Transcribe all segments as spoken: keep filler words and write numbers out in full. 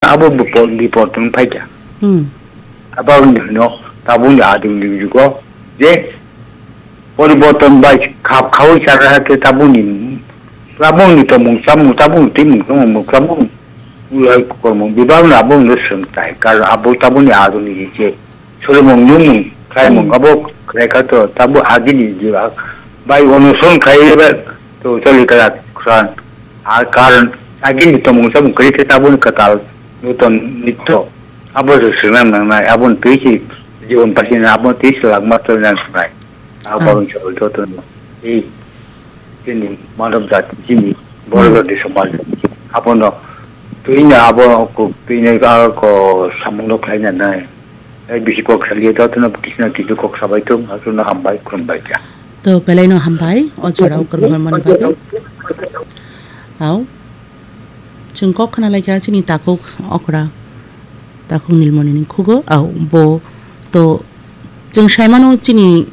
abo bipor, bipor tong phaikha. Hmm. Abo wngkha no, tabukni ading ni jugo je poriborton bai khap khaui chara khe tabukni, tabukni tongmung chamung, tabukni twimung chamung, tabukni ulai kormung bebak no abo no swrwng tai. Karon abo tabukni ading ni je Solimung nungmung khlaimung Hmm. abo khlai kha to, tabo agini jiba bai onuson khlai ba to choli kala khran. A karon agini tomung samung kri khe taboni katal nuton nitto abo se swnam nangnai, abon twi si jibon pasina, abon twi si langma to nang sanai. Ah. Abo chol to to no. Ei Chini manob jati, chini borok Hmm. jati somaj. Abono twi no abo kok twi no ko samung no khlai na nai. Tei bisi kok saliya joto no kisna kisu kok sabai thung, aswk no hambai, khulumbai kha. To belai no hambai, o chorao kwrwng hwnmani bagwi. Au. Chwng kok khna lai kha chini takhuk okra. Takhuk Nilmoni ni khugo, au, bo to chwng saimano chini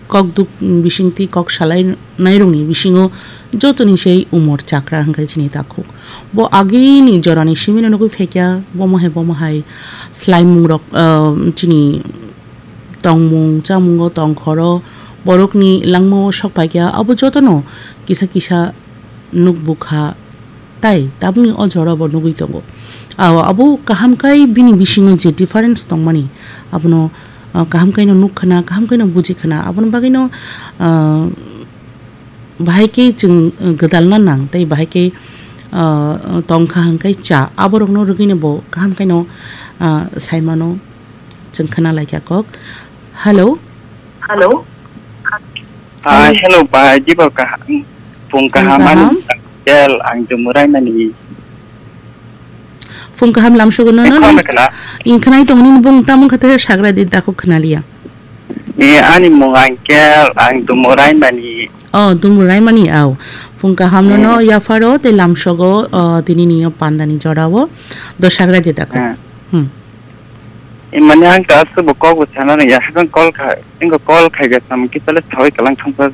kok duk bisingtwi kok salai nairokni bisingo jotoni sei umor chakra hwnkhe chini takhuk. Bo agini jorani simino nugwi phaikha, bomo hai bomo hai slaimungrok, ah, chini tongmung chamungo tongkhoro borokni langmao sok phaikha, abo jotono kisa kisa nuk bukha. Tai tabukni o jora bo nugwi tongo. Aw, abo kaham kai bini bisingo je difference tongmani, abono, ah, kaham kaino nuk khna, kaham kaino buji khna, aboni bagwino, ah, bahai khe chwng, ah, gwdalna nang, tei bahai khe, ah, tongkha hwnkhe cha, aborokno rwgwino bo kaham kaino, ah, saimano. Chwng khna lai kha kok. Hello? Hello? Ah, hello, bai, jibo kaham. Phung Phung kaham, ani kaham? Kel, ang Dumurai mani. Phung kaham lamsogo no, no, Khorang no. Khna. Ing khnai tong nini bung tamung kha te sagra di dako khna liya. Ni ani mung ang Kel, ang Dumurai mani. Oh, Dumurai mani, aw. Phung kaham no, no, Hmm. Yapharo, te lamsogo, oh, tini ni yo panda ni jora o. Do sagra di dako. Hmm. Hmm. Imani ang ta aswk bo kok bo sana rwngya, hakang call kha, engko call khaikha samung kisa le sawi kalang thangsa